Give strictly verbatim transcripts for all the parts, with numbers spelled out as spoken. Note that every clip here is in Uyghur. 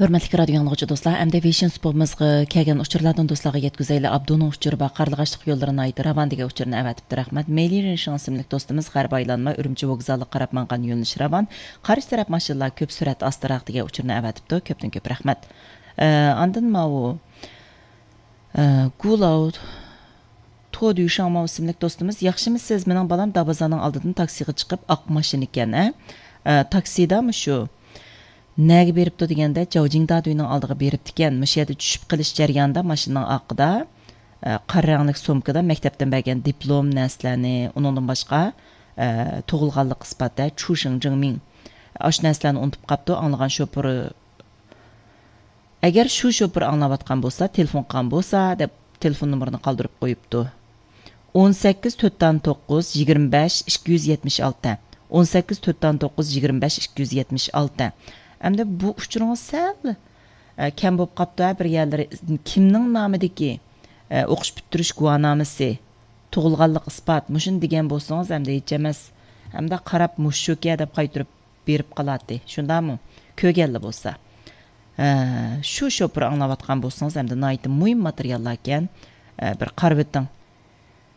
ھۆرمەتلىك رادىيو ئاڭلىغۇچى دوستلار، ئەمدى ۋېيشىن سۇپىمىزغا كەلگەن ئۇچۇرلاردىن دوستلارغا يەتكۈزەيلى. ئابدۇنىڭ ئۇچۇرى بار، قارلىغاچلىق يوللىرى ناھايىتى راۋان دېگەن ئۇچۇرنى ئەۋەتىپتۇ، رەھمەت. مېيلى رېشىڭ ئىسىملىك دوستىمىز غەربىي ئايلانما ئۈرۈمچى ۋوگزالىغا قاراپ ماڭغان يۆنىلىش راۋان، قارشى تەرەپ ماشىنىلار كۆپ، سۈرئەت ئاستىراق دېگەن ئۇچۇرنى ئەۋەتىپتۇ، كۆپتىن كۆپ رەھمەت. ئە، ئاندىن ماۋۇ، ئە، گۇلاۋ تودۈشاڭ ماۋۇ ئىسىملىك دوستىمىز، ياخشىمۇسىز؟ مېنىڭ بالام دابازاننىڭ ئالدىدىن تاكسىغا چىقىپ ئاق ماشىنا ئىكەن، ھە؟ ئە، تاكسىدا مۇشۇ نەگە بېرىپتۇ دېگەندە، جاۋجىڭدادۈينىڭ ئالدىغا بېرىپتىكەن. مۇشۇ يەردە چۈشۈپ قېلىش جەريانىدا ماشىنىنىڭ ئارقىدا، ئە، قارا رەڭلىك سومكىدا مەكتەپتىن بەرگەن دىپلوم نەرسىلەرنى، ئۇنىڭدىن باشقا، ئە، تۇغۇلغانلىق ئىسپاتى، چۇشىڭ جىڭمىڭ، ئاشۇ نەرسىلەرنى ئۇنتۇپ قاپتۇ. ئاڭلىغان شوپۇرى، ئەگەر شۇ شوپۇر ئاڭلاۋاتقان بولسا، تېلېفون قىلغان بولسا، دەپ تېلېفون نومۇرىنى قالدۇرۇپ قويۇپتۇ. ئون سەككىز تۆت دان توققۇز يىگىرمە بەش ئىككى يۈز يەتمىش ئالتە. ئون سەككىز تۆت دان توققۇز يىگىرمە بەش ئىككى يۈز يەتمىش ئالتە. ئەمدى بۇ ئۇچۇرىڭىز سەل، ئە، كەم بولۇپ قاپتۇ، ھە، بىر يەرلىرى. كىمنىڭ نامىدىكى، ئە، ئوقۇش پۈتتۈرۈش گۇۋاھنامىسى، تۇغۇلغانلىق ئىسپات، مۇشۇنى دېگەن بولسىڭىز، ئەمدى ھېچ ئەمەس. ئەمدى قاراپ، مۇشۇكەن دەپ قايتۇرۇپ بېرىپ قالاتتى، شۇنداقمۇ؟ كۆرگەنلا بولسا. ھە، شۇ شوپۇر ئاڭلاۋاتقان بولسىڭىز، ئەمدى ناھايىتى مۇھىم ماتېرىياللاركەن، ئە، بىر قارىۋېتىڭ.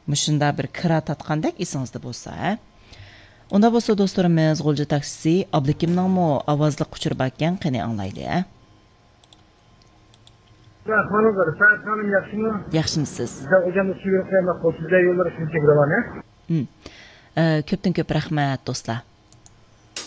مۇشۇنداق بىر كىرا تارتقاندەك ئېسىڭىزدە بولسا، ھە؟ ئۇنداق بولسا، دوستلىرىمىز، غۇلجا تاكسىسى ئابلىكىمنىڭمۇ ئاۋازلىق ئۇچۇرى باركەن، قېنى ئاڭلايلى، ھە؟ ئەھۋالىڭىز، رىپات خانىم، ياخشىمۇ؟ ياخشىمۇسىز؟ بىزدە ئوجامدا سۈيرۈپ قويماق بولسا، بىزدە يوللار شۇنچە بىر ۋانە. ھىم. ئە، كۆپتىن كۆپ رەھمەت، دوستلار.